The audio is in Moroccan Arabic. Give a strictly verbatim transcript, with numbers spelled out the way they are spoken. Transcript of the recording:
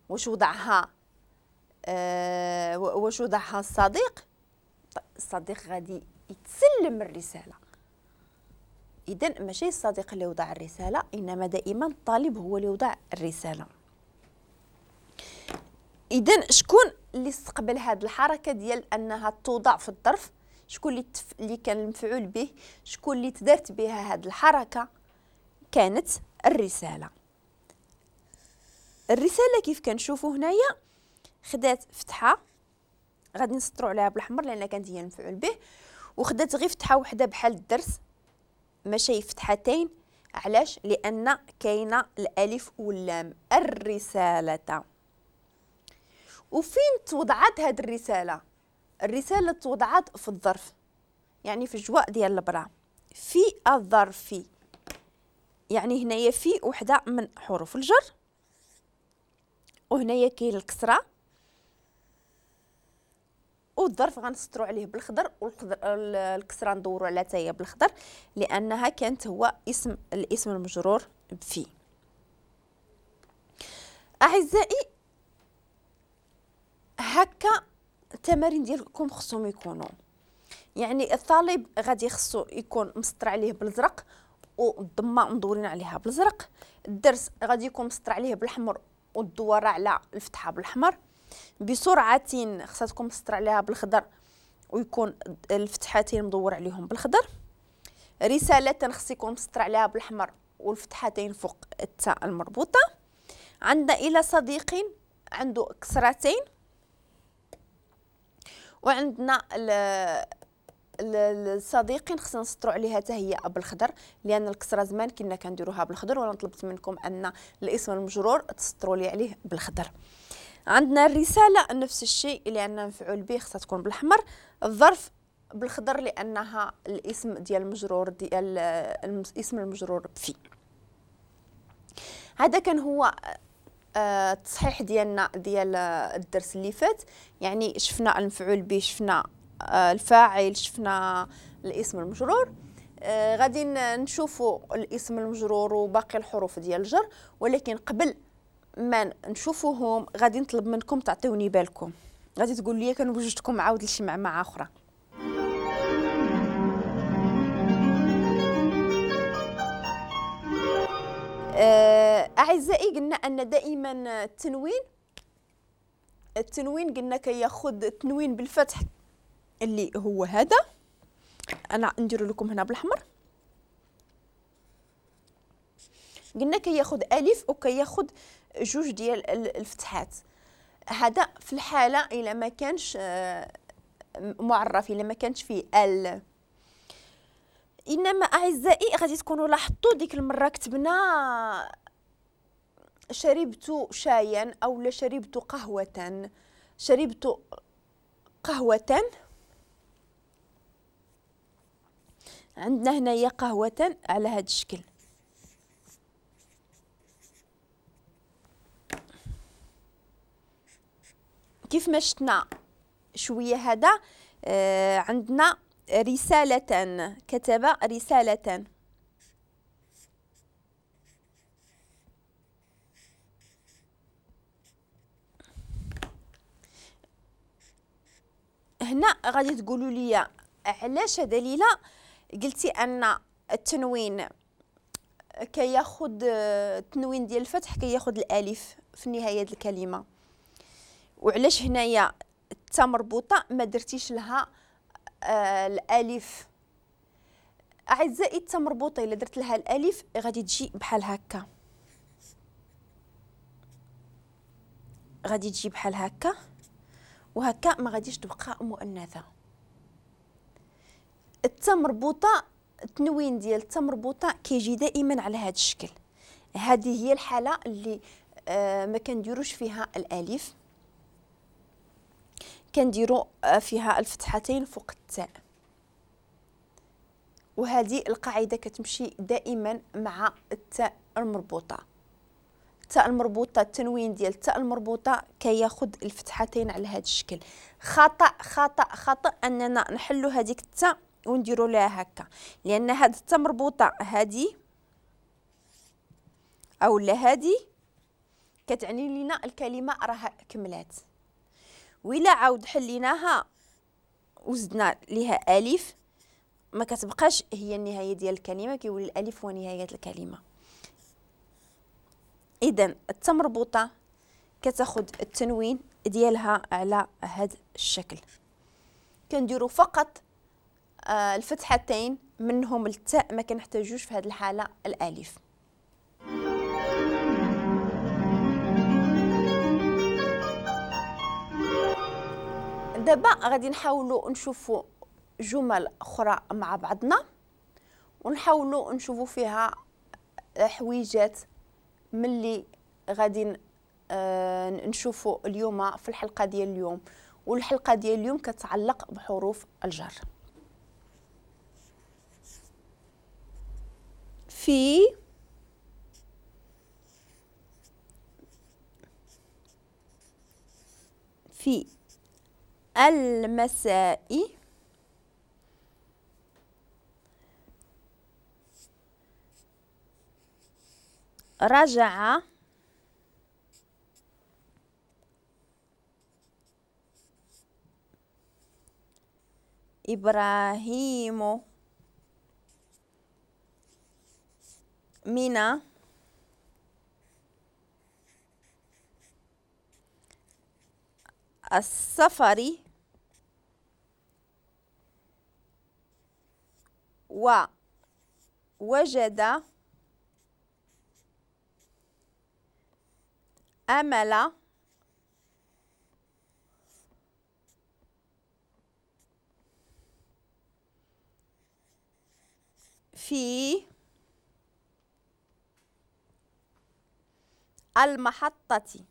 واش وضعها آه واش وضعها الصديق؟ الصديق غادي يتسلم الرسالة. إذا ماشي الصديق اللي وضع الرسالة، إنما دائما الطالب هو اللي وضع الرسالة. إذا شكون اللي استقبل هذه الحركة ديال أنها توضع في الظرف؟ شكون اللي تف... اللي كان المفعول به؟ شكون اللي تدارت بها هذه الحركة؟ كانت الرسالة. الرسالة كيف كنشوفوا هنايا خدات فتحة، غادي نسطروا عليها بالأحمر لأن كانت هي المفعول به، وخدات غير فتحة وحدة بحال الدرس ماشي فتحتين. علاش؟ لأن كاينة الألف واللام، الرسالة. وفين توضعت هذه الرسالة؟ الرسالة توضعت في الظرف، يعني في الجواء ديال البرا، في الظرف، يعني هنايا في وحدة من حروف الجر، وهنايا كاين الكسرة، والظرف غنسطرو عليه بالخضر، والكسرة ندورو على تاهي بالخضر لأنها كانت هو اسم الاسم المجرور بفي. أعزائي هكا التمارين ديالكم خصهم يكونوا، يعني الطالب غادي خصو يكون مسطر عليه بالازرق والضمه مدورين عليها بالازرق، الدرس غادي يكون مسطر عليه بالاحمر والدوره على الفتحة بالاحمر، بسرعة خصها تكون مسطر عليها بالخضر ويكون الفتحتين مدور عليهم بالخضر، رسالة خص يكون مسطر عليها بالاحمر والفتحتين فوق التاء المربوطه. عندنا الى صديق عنده كسرتين، وعندنا الصديقين خصنا نسطروا عليها حتى هي بالخضر لان الكسرة زمان كنا كنديروها بالخضر، وانا طلبت منكم ان الاسم المجرور تسطروا لي عليه بالخضر. عندنا الرسالة نفس الشيء لان مفعول به خصها تكون بالاحمر، الظرف بالخضر لانها الاسم ديال المجرور ديال الاسم المجرور بفي. هذا كان هو التصحيح ديالنا ديال الدرس اللي فات، يعني شفنا المفعول به، شفنا الفاعل، شفنا الاسم المجرور. آه غادي نشوفوا الاسم المجرور وباقي الحروف ديال الجر، ولكن قبل ما نشوفوهم غادي نطلب منكم تعطيوني بالكم. غادي تقول لي كنوجدكم عاود لشي معمعة اخرى. آه اعزائي قلنا ان دائما التنوين التنوين قلنا كياخذ التنوين بالفتح اللي هو هذا، انا ندير لكم هنا بالاحمر. قلنا كياخذ الف وكياخذ جوج ديال الفتحات. هذا في الحالة الا ما كانش معرف، الا ما كانش فيه ال. انما اعزائي غادي تكونوا لاحظتوا ديك المرة كتبنا شربت شايا او لا شربت قهوة، شربت قهوة، عندنا هنايا قهوة على هذا الشكل. كيف ما شفنا شوية هذا آه عندنا رسالة، كتب رسالة. هنا غادي تقولوا لي علاش دليله قلتي ان التنوين كياخذ التنوين ديال الفتح كياخذ الالف في نهاية الكلمة، وعلاش هنايا التا مربوطة ما درتيش لها آه الالف؟ اعزائي التا مربوطة الا درت لها الالف غادي تجي بحال هكا، غادي تجي بحال هكا، وهكا ما غاديش تبقى مؤنثة. التا مربوطة التنوين ديال التا مربوطة كيجي دائما على هذا الشكل. هذه هي الحالة اللي آه ما كنديروش فيها الالف، كنديروا فيها الفتحتين فوق التاء، وهذه القاعدة كتمشي دائما مع التاء المربوطه. التاء المربوطه التنوين ديال التاء المربوطه كياخذ الفتحتين على هذا الشكل. خطا خطا خطا اننا نحلوا هذيك التاء ونديروا لها هكا، لان هذه التاء مربوطة هذه او لا هذه كتعني لنا الكلمة راها كملات. وإلا عاود حليناها وزدنا لها ألف ما كتبقاش هي النهاية ديال الكلمة، كيولي الألف هو نهاية الكلمة. إذا التاء مربوطة كتاخد التنوين ديالها على هذا الشكل. كنديروا فقط آه الفتحتين منهم التاء، ما كنحتاجوش في هذه الحالة الألف. دابا غادي نحاولوا نشوفوا جمل اخرى مع بعضنا، ونحاولوا نشوفوا فيها حويجات ملي غادي آه نشوفوا اليوم في الحلقة ديال اليوم. والحلقة ديال اليوم كتعلق بحروف الجر. في في المساء رجع إبراهيم من السفر ووجد أمل في المحطة.